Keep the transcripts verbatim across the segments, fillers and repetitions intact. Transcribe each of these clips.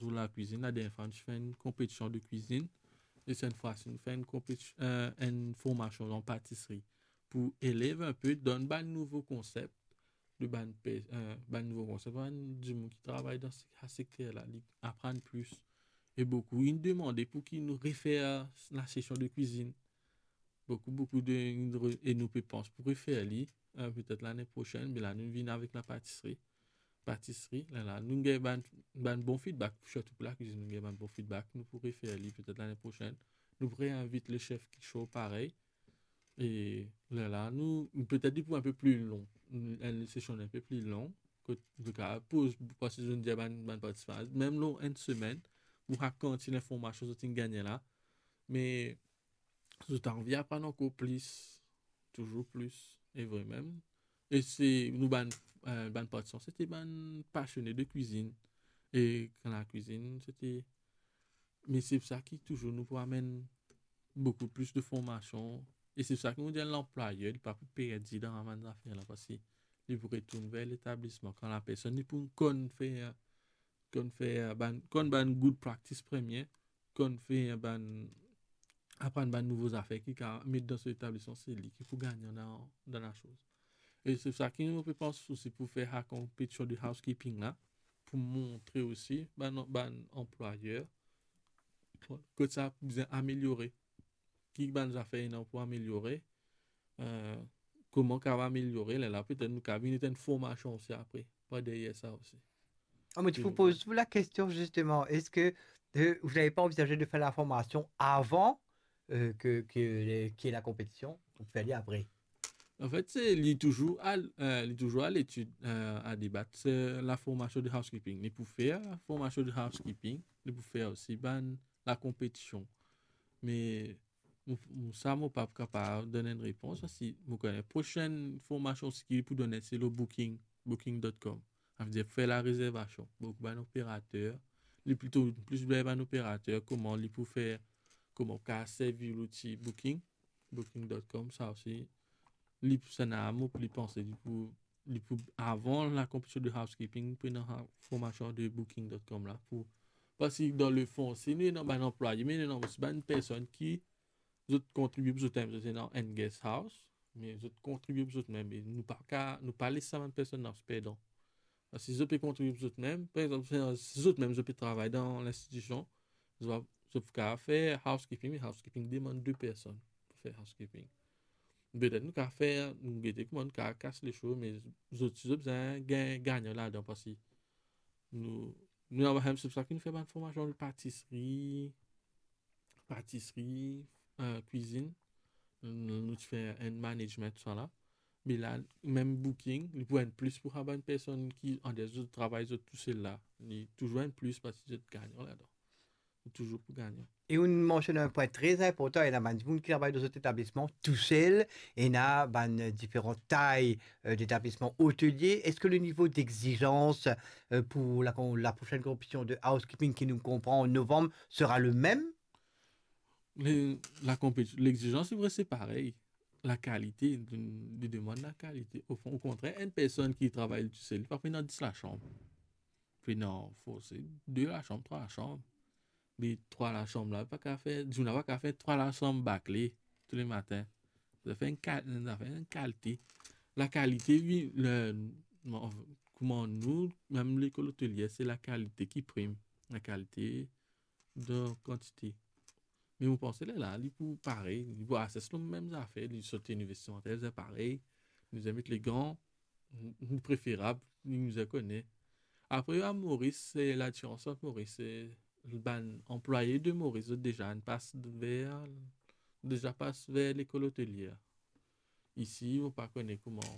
Sur la cuisine, la dernière fois, nou ti fer enn konpetision de kwizinn. E cette fois-ci, nou fer enn konpeti-, euh, enn formasion an patisri pou elev inpe, donn bann nouvo konsep, de bann pe-, euh, bann nouvo konsep, bann dimoun ki travay dan se-, sa sekter la, li aprann plis. E boukou inn demande pou ki nou refer la sesion de kwizinn. Boukou, boukou de, e nou pe pans pou refer li, euh, petet lane prosenn, me la nou vinn avek la patisri. Patisri, la, la, nou gagn bann, bann bon feedback, sirtou pou la kwizinn, nou gagn bann bon feedback, nou pou refer li petet lane prosenn. Nou pou reinvit le chef Kicho parey. E la, la, nou, petet li pou enpe pli lon, enn sesion enpe pli lon, kot nou kapav poz, parski zot dir bann, bann partisipan, mem lor enn semenn, pou rakont linformasion zot inn gagne la. Me zot anvi aprann ankor plis, touzour plis, e vremem. E se nou bann, euh, bann partisipan, se ti bann pasione de kwizinn. E kan la kwizinn, se ti, me se sa ki touzour nou pou amenn boukou plis de formasion. E se sa ki nou dir, lanplwayer, li pa pou perdi dan bann zafer la, parski li pou retourn ver letablisman. Kan la personn, li pou konn fer, konn fer bann, konn bann good practice premie, konn fer bann, aprann bann nouvo zafer ki kapav met dan so letablisman, se li ki pou gagnan dan, dan lasoz. E se sa ki nou pe pans osi pou fer sa konpetision de housekeeping la, pou montre osi bann, bann anplwayer kot sa bizin ameliore, ki bann zafer ena pou ameliore, euh, kouma kapav ameliore, lerla petet nou kapav vinn enn formasion osi apre, par deryer sa osi. Ah, mais tu vous poses la question justement, est-ce que euh, vous n'avez pas envisagé de faire la formation avant euh, que, que, qu'il y ait la compétition ou faire après? Anfet, se, li touzour a, euh, li touzour a letid, euh, a debat, se la formasion de housekeeping. Li pou fer formasion de housekeeping, li pou fer osi bann lakonpetision. Me mo, mo, sa mo pa kapav donn enn repons, parski mo kone prosenn formasion ki li pou done, se lor booking, booking dot com. Savedir fer larezervasion. Boukou bann operater, li plito plis ber bann operater, kouma li pou fer, kouma ou kapav servi louti booking, booking dot com, sa osi, li pou, sa ena mo pou li panse, li pou, li pou, avan lakonpetision de housekeeping, pou ena formasion de booking dot com la, pou, parski dan lefon, si nou ena bann anplwaye, me nou ena osi bann personn ki zot kontribie pou zot mem, zot ena enn guest house, me zot kontribie pou zot mem, e nou pa ka, nou pa les sa bann personn la perdan. Parski si zot pe kontribie pou zot mem, par exanp, si zot mem zot pe travay dan linstitision, zot, zot pou kapav fer housekeeping, me housekeeping demann de personn pou fer housekeeping. Petet nou kapav fer, nou gete kouma nou kapav kas lesoz, me zot, si zot bizin gagn, gagnan ladan, parski nou, nou ena, se pou sa ki nou fer bann formasion de patisri, patisri, euh, kwizinn. Nou, nou ti fer enn management, tousala. Me la, mem booking, li pou enn plis pou sa bann personn ki, an de zot travay zot tousel la. Li touzour enn plis parski zot gagnan ladan. Li touzour pou gagnan. E ou mansionn enn pwin tre inportan, ena bann dimoun ki travay dan zot etablisman tousel, ena bann diferan tay, euh, d'établissements hôteliers. Est-ce que le niveau d'exigence, euh, pour la, la prochaine compétition de housekeeping qui nous comprend en novembre sera le même? Le, la konpeti-, lexizans, se vre, se parey. Lakalite, li, li demann lakalite. Ofon, okontrer, enn personn ki travay tousel, li pa pou ena dis lasam. Pou ena, fo se de lasam, trwa lasam. Me trwa lasam la, pa kapav fer, dimoun la pa kapav fer trwa lasam bakle touletan. Sa fer enn kal-, sa fer enn kalite. Lakalite, wi, le, kouma nou, mem lekol otelie, se lakalite ki prim. Lakalite dan kantite. Me mo panse lerla, li pou parey, li pou ases lor mem zafer, li sot Linivers Ti Mantel, se parey. Nou met legan, nou preferab, nou kone. Apre, a Moris, se ladiferans ant Moris, se bann anplwaye de Moris, zot deza inn pas ver, deza pas ver lekol otelie. Isi, mo pa kone kouma,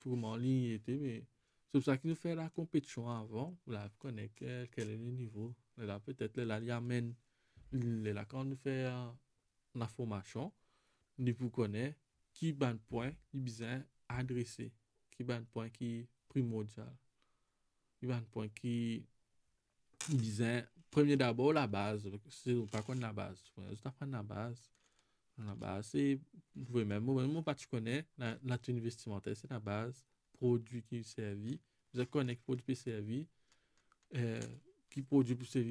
kouma li ete, me se pou sa ki nou fer lakonpetision avan, pou la kone ke, kel e le nivo. Lerla, petet, lerla, li amenn, lerla, kan nou fer laformasion, li pou kone ki bann pwin li bizin adrese, ki bann pwin ki primordial, ki bann pwin ki bizin, premie dabor, labaz, si ou pa konn labaz, zot aprann labaz. Labaz, se, vremem, mo, mo pa ti kone, la, latenue vestimentaire, se labaz, prodwi ki servi, bizin kone ki prodwi pe servi, eh, ki prodwi pli seri.